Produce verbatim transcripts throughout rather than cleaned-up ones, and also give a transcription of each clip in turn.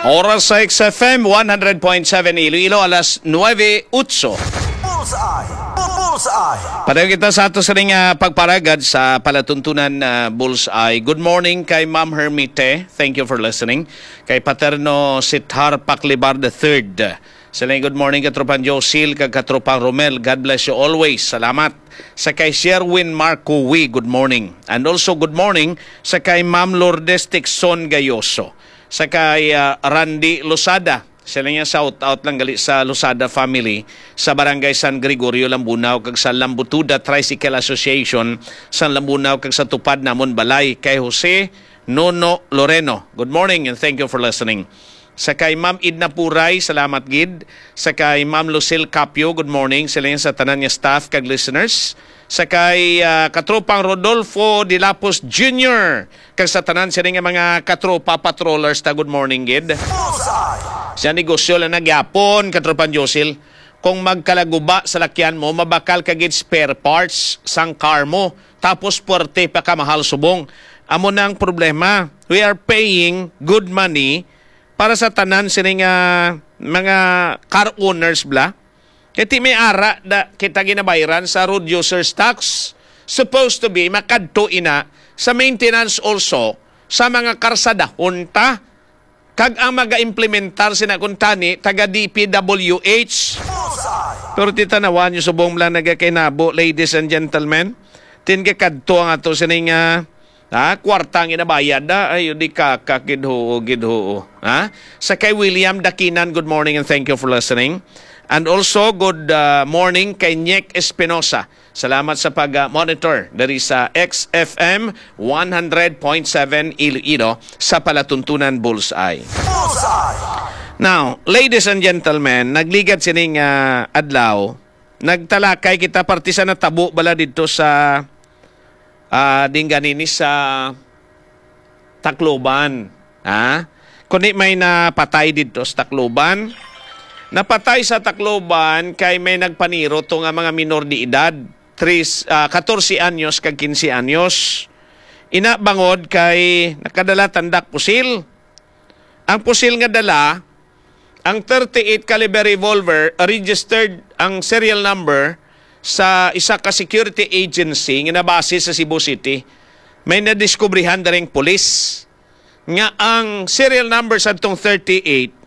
Oras sa X F M one hundred point seven Iloilo, alas nuebe otso. Bullseye! Bullseye! Padayon kita sa ato sining, ah, pagparagad sa palatuntunan, ah, Bullseye. Good morning kay Ma'am Hermite. Thank you for listening. Kay Paterno Sithar Paklibar the third. Sila, good morning, Katropang Josil, kag Katropang Romel. God bless you always. Salamat. Sa kay Sherwin Marco Wi, good morning. And also, good morning sa kay Ma'am Lourdes Tixon Gayoso. Sa kay, ah, Randy Losada. Sila niya, shout out lang gali sa Losada family sa Barangay San Gregorio, Lambunao, kag sa Lambutuda Tricycle Association sa Lambunao, kag sa Tupad Namon Balay. Kay Jose Nono Loreno, good morning and thank you for listening. Sa kay Ma'am Edna Puray, salamat gid. Sa kay Ma'am Lucille Capio, good morning. Sila niya sa tanan nga staff kag listeners. Sa kay, ah, Katropang Rodolfo Dilapos Junior, kag sa tanan sini nga mga katropa patrollers ta, good morning gid. Bullseye! Sa negosyo lang nagyapon, Katropang Josil, kung magkalaguba sa lakyan mo, mabakal ka gid spare parts sang car mo, tapos puwerte pa ka mahal subong. Amo na ang problema. We are paying good money para sa tanan sini nga mga car owners bla. Kay ti may ara da kita ginabayran sa road users tax. Supposed to be, makadto ina sa maintenance also sa mga karsadahon ta. Kag ang maga-implementar sina kuntani, taga D P W H. Pero titanawan nyo subong lang nagakainabo, ladies and gentlemen. Tin gakadto ang ato sining, ah, ha? Kwarta ang inabayad, ah. Ay, di ka, ka, gid huo, gid huo. Ha? Sa kay William Dakinan, good morning and thank you for listening. And also, good, ah, morning kay Nyek Espinosa. Salamat sa pag, ah, monitor diri sa X F M one hundred point seven Iloilo sa palatuntunan Bullseye. Bullseye! Now, ladies and gentlemen, nagligad sining, ah, adlaw, nagtalakay kita parte sa natabo bala didto sa, ah, dingganini sa Tacloban, ha? Kundi may napatay didto sa Tacloban. Napatay sa Tacloban kay may nagpaniro to nga mga minor de edad, tris, ah, katorse anyos kag kinse anyos. Ina bangod kay nakadala tandak pusil. Ang pusil nga dala, ang thirty-eight caliber revolver, registered ang serial number sa isa ka security agency nga nabase sa Cebu City. May nadiskubrihan daring pulis nga ang serial number sa tong thirty-eight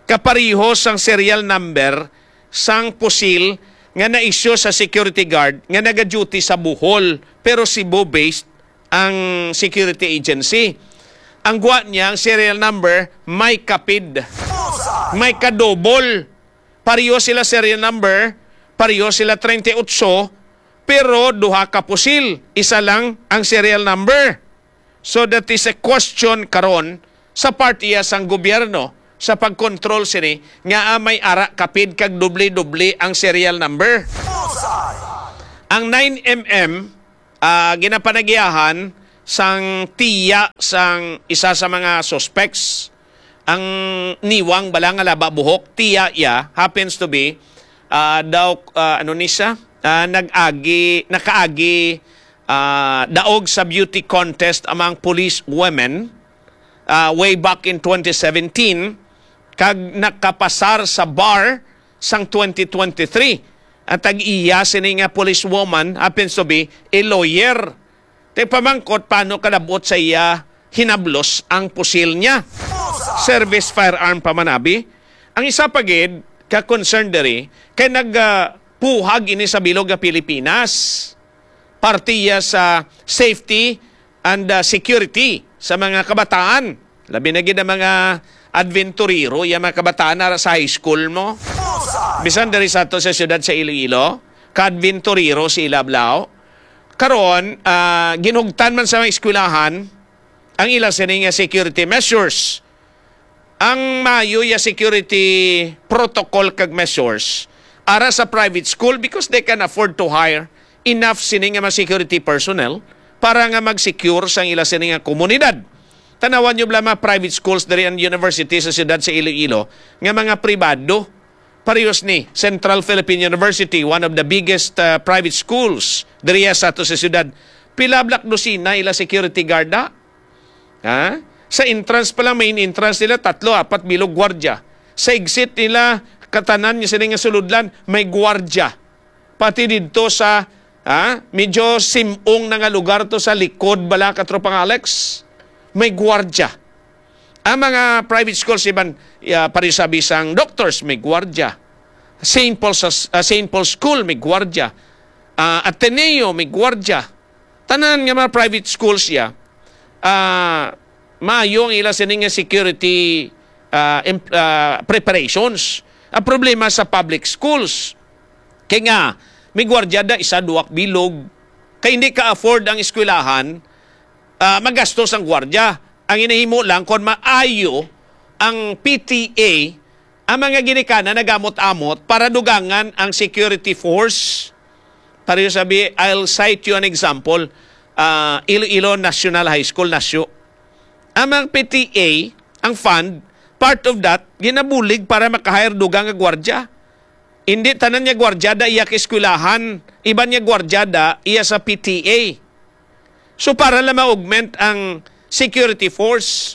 kapareho sang serial number sang pusil nga na-issue sa security guard nga naga-duty sa Bohol, pero Cebu-based ang security agency. Ang gwa niya, ang serial number, may kapid. May kadobol. Pareho sila serial number, pareho sila treinta y ocho, pero duha ka pusil, isa lang ang serial number. So that is a question karon sa parte sang gobyerno sa pagkontrol sini nga, ah, may ara kapid kag doble-doble ang serial number. Ang nine M M, ah, ginapanagiahan sang tiya sang isa sa mga suspects. Ang niwang bala nga laba buhok, tiya iya, happens to be, ah, daw, ah, ano ni siya? Ah, nag-agi, nakaagi, ah, daog sa beauty contest among police women, ah, way back in twenty seventeen, kag nakapasar sa bar sang twenty twenty-three. Ang tag-iya sini nga policewoman happens to be a lawyer. Tay pamangkot, paano kalabot sa iya hinablos ang pusil niya? Service firearm pa man abi. Ang isa pa gid ka concern diri kay nag, ah, puhag ini sa bilog nga Pilipinas. Parte iya sa safety and, ah, security sa mga kabataan. Labi na gid ang mga adventurero, iya mga kabataan na sa high school mo. Bisan diri sa ato sa siyudad sa Iloilo, ka-adventurero sila, blaw. Karon, ah, ginhugtan man sa mga eskwelahan ang ila sini nga security measures. Ang maayo ya security protocol kag measures ara sa private school because they can afford to hire enough sini nga mga security personnel para nga mag-secure sang ila sini nga komunidad. Tanawan nyo bala mga private schools diri ang university sa siyudad sa Iloilo nga mga pribado. Parehas ni Central Philippine University, one of the biggest, uh, private schools diriya sa ato sa siyudad. Pila bala ka dosina ila security guard na? Ha? Sa entrance pa lang, main entrance nila, tatlo, apat bilog gwardya. Sa exit nila, katanan niya sini nga sulodlan, may gwardya. Pati didto sa, ah, medyo simong na nga lugar to sa likod bala, Katropang Alex, may gwardya. Ang mga private schools, iban, ah, pareho sa bisang doctors, may gwardya. Saint Paul's, ah, Saint Paul's School, may gwardya. Ah, Ateneo, may gwardya. Tanan nga mga private schools ya, ah, maayo ang ila sini nga security, ah, em-, ah, preparations. Ang problema sa public schools, kay nga, may gwardya da, isa, duwak bilog. Kay hindi ka-afford ang eskwelahan, ah, magastos ang gwardya. Ang inahimo lang, kung maayo ang P T A, ang mga ginikanan nagamot-amot para dugangan ang security force. Pareho sabi, I'll cite you an example. Ah, Iloilo National High School, Nasyo. Ang mga P T A, ang fund, part of that, ginabulig para maka-hire dugang nga gwardya. Hindi tanan nga gwardya da iya ka eskwelahan, iban nga gwardya da iya sa P T A. So, para lang ma-augment ang security force.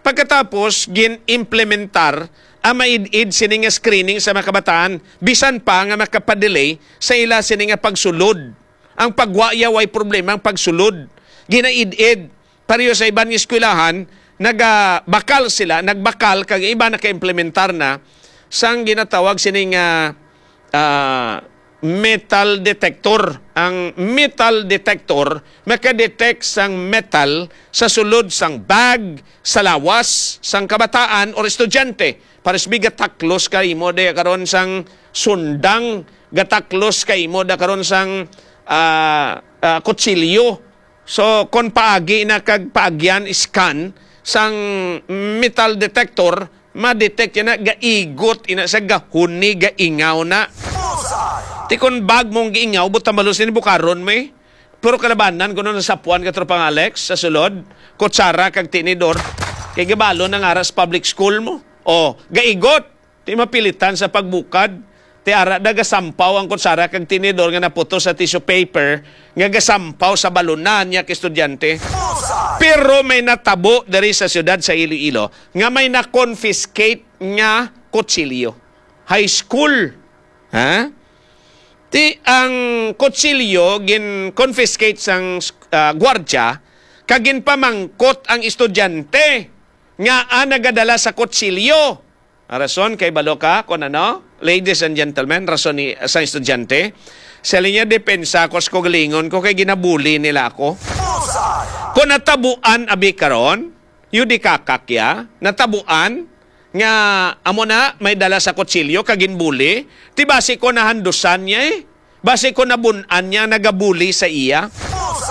Pagkatapos, gin-implementar ang maid-id sini nga screening sa mga kabataan, bisan pa nga makapadelay sa ila sini nga pagsulod. Ang pagwa ya way problema ang pagsulod. Ginaid-id, pareho sa iban nga eskwelahan, nagabakal sila, nagbakal, kag iba naka-implementar na sang ginatawag sini nga, ah, metal detector. Ang metal detector maka-detect sang metal sa sulod sang bag, sa lawas sang kabataan or estudyante. Pares bi gataklos ka imo di karon sang sundang, gataklos ka imo da karon sang, ah, ah, kutsilyo. So, kon paagi na kag paagyan, scan sang metal detector, ma-detect yan na gaigot ina sa gahuni, gaingaw na. Ti kon bag mong giingaw, butang balos ni bukaron mo eh. Pero kalabanan ko nung nasapuan ka, Tropang Alex, sa sulod, kutsara kag tinidor, kay gabalo na nga ra sa public school mo. O, gaigot. Ti mapilitan sa pagbukad. Ti ara da gasampaw ang kutsara kag tinidor nga naputos sa tissue paper nga gasampaw sa balunan niya ka estudyante. Pero may natabo diri sa siyudad sa Iloilo nga may na-confiscate nga kutsilyo. High school. Ha? Ti ang kutsilyo gin-confiscate sang, ah, gwardya kag ginpamangkot ang estudyante nga, ah, nagadala sa kutsilyo. Ang rason kay balo ka kung ano, ladies and gentlemen, rason ni, sa estudyante. Sa linya depensa ko, sa kaugalingon ko, kay ginabuli nila ako. Kung natabuan, abi karon, yudikakak ya, natabuan, nga amo na, may dala sa kutsilyo, kag ginbuli, ti basi ko nahandusan niya eh. Basi ko nabun-an niya, nagabuli sa iya.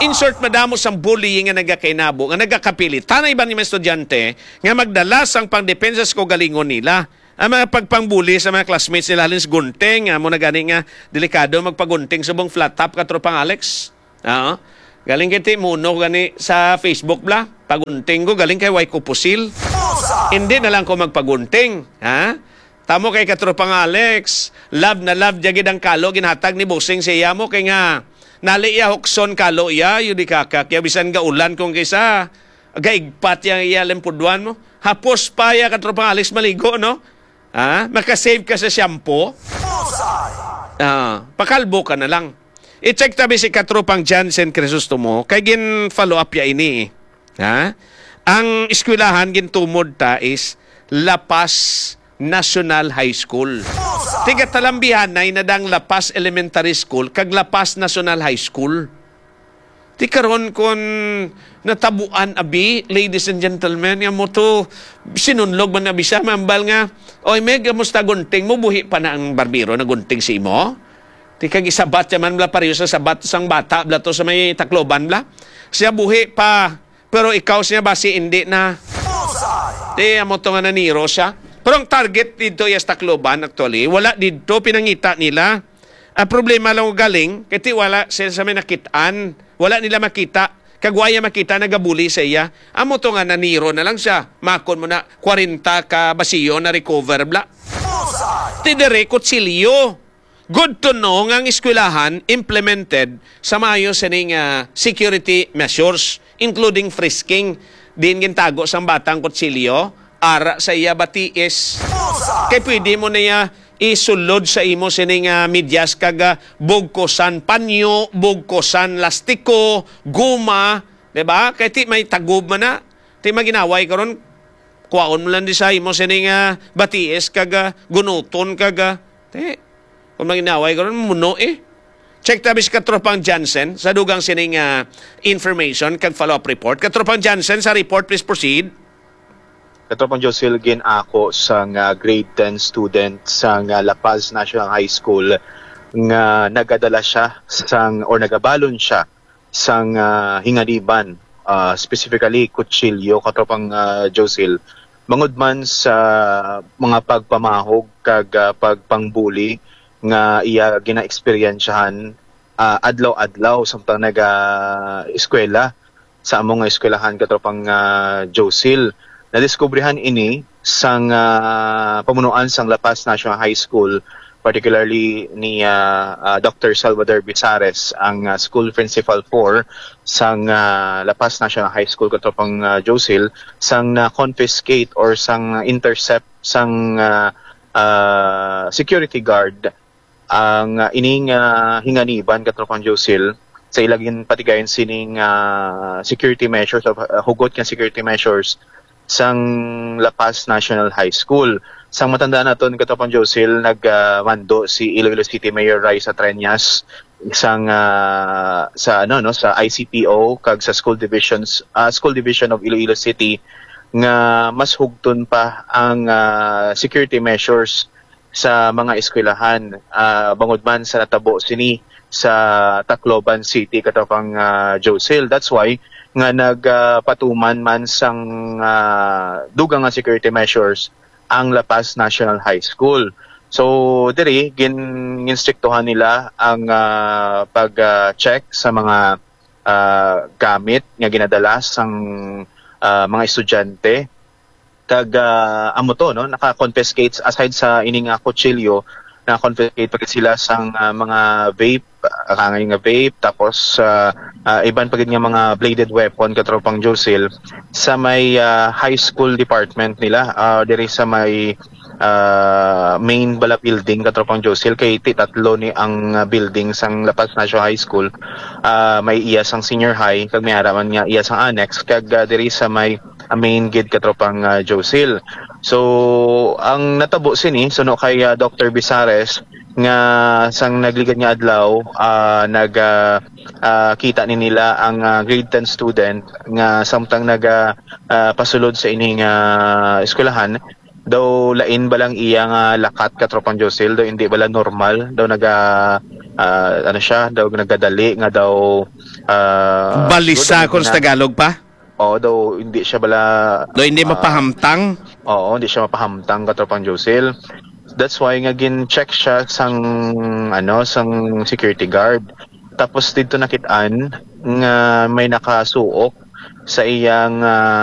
Insert madamo sang bullying nga nagakainabo, nga nagakapilit. Tanay ba ni mga estudyante nga magdala sang pangdepensa sa kaugalingon nila? Ang mga pagpangbuli sa mga classmates nila, halin sa gunting, amo na gani nga delikado magpagunting subong flat top, Katropang Alex. Oo. Galing kay ti muno gani sa Facebook bla. Pagunting ko, galing kay way ko pusil. Hindi na lang ko magpagunting, ha? Tamo kay Katropang Alex, love na love jagid ang kalo ginhatag ni Bossing sa iya mo, kay nga nali iya hukson kalo iya, yun di kaka, kaya bisan gaulan kung kaysa, gaigpat yang iya limpudwan mo. Hapos pa ya, Katropang Alex, maligo, no? Ha? Makasave ka sa shampoo. Ah, pakalbo ka na lang. I-check tabi si Katropang Jansen Crisostomo, kay gin-follow up ya ini eh. Ha? Ang eskwelahan gintumod ta is La Paz National High School. Tiga talambihanay na dang La Paz Elementary School kag La Paz National High School. Ti karon kon natabuan abi, ladies and gentlemen, nga mo to sinunlog man na bisa, mambal nga, "Oy, Meg, kamusta gunting mo? Buhi pa na ang barbero na gunting si imo?" Ti kag isabat siya man bla, pareho sa sabat sang bata bla to sa may Tacloban bla. Siya buhi pa, pero ikaw siya basi hindi na. Ti amo to nga naniro siya. Pero ang target dito iya sa Tacloban, actually, wala dito pinangita nila. Ang problema lang galing, kay ti wala sila sa may nakitaan. Wala nila makita. Kag waya makita, nagabuli sa iya. Amo to nga naniro na lang siya. Makon mo na, kwarenta ka basiyo na recover bla. Ti dire, kutsilyo. Good to know nga ang eskwelahan implemented sa maayo sining, ah, security measures, including frisking. Diin gintago sang bata ang kutsilyo? Ara sa iya batiis. Kay pwede mo na iya isulod sa imo sining, ah, medyas kag, ah, bugkosan panyo, bugkosan lastiko, guma, di ba? Kay ti may tagob man na. Ti maginaway karon, kuwaon mo lang di sa imo sining, ah, batiis kag, ah, gunuton kag, ah, ti, kung maginaway karon, muno eh. Check tabi si Katropang Jansen sa dugang sining, ah, information kag follow-up report. Katropang Jansen, sa report, please proceed. Katropang Josil, gin-ako sang, ah, grade ten student sang, ah, La Paz National High School nga nagadala siya sang, or nagabalon siya sang, ah, hinganiban, ah, specifically kutsilyo, Katropang, ah, Josil, bangod man sa mga pagpamahog kag, ah, pagpangbuli nga iya ginaeksperyensyahan, ah, adlaw-adlaw samtang naga-eskwela sa amo nga eskwelahan, Katropang, ah, Josil. Nadiskubrihan ini sang, ah, pamunuan sang La Paz National High School, particularly ni, ah, ah, Doctor Salvador Bizares, ang, ah, school principal four sang, ah, La Paz National High School, Katropang, ah, Josil, sang na-confiscate or sang intercept sang, ah, ah, security guard ang, ah, ining, ah, hinganiban, Katropang Josil, sa ila ginpatigayon sining, ah, security measures of, ah, hugot nga security measures sang La Paz National High School. Sang matandaan naton, Katropang Josil, nag, ah, mando si Iloilo City Mayor Raisa Treñas sang, ah, sa, ano, no, sa I C P O kag sa school divisions, ah, School Division of Iloilo City nga mas hugton pa ang, ah, security measures sa mga eskwelahan, ah, bangod man sa natabo sini sa Tacloban City, Katropang, ah, Josil. That's why nga nagapatuman man sang, ah, dugang nga security measures ang La Paz National High School. So, diri, gin-, ginstriktuhan nila ang, ah, pag, ah, check sa mga, ah, gamit nga ginadala sang, ah, mga estudyante. Kag, ah, amo to, no, naka-confiscate, aside sa ini nga kutsilyo, naka-confiscate pa gid sila sang, ah, mga vape, ah, kangay nga vape, tapos, ah, ah, iban pa gid nga mga bladed weapon, Katropang Josil, sa may, ah, high school department nila, ah, diri sa may, ah, main bala building, Katropang Josil, kay ti tatlo ni ang, ah, building sang La Paz National High School. Ah, may iya sang senior high, kag may ara man nga iya sang annex, kag, ah, diri sa may, ah, main gid, Katropang, ah, Josil. So, ang natabo sini, suno kay, ah, Doctor Bizares, nga sang nagligad nga adlaw, ah, nag, ah, ah, kita ni nila ang, ah, grade ten student nga samtang naga, ah, pasulod sa ining, ah, eskwelahan, daw lain ba lang iya nga lakat, Katropang Josil, daw hindi bala normal, daw naga, ah, ano siya, daw nagadali nga daw, ah, Balisa siguro kung sa na- Tagalog pa? Oo, daw hindi siya bala, Do hindi ah, mapahamtang? Oo, hindi siya mapahamtang, Katropang Josil. That's why nga gin-check siya sang, ano, sang security guard. Tapos dito nakit-an nga may nakasuok sa iyang, ah,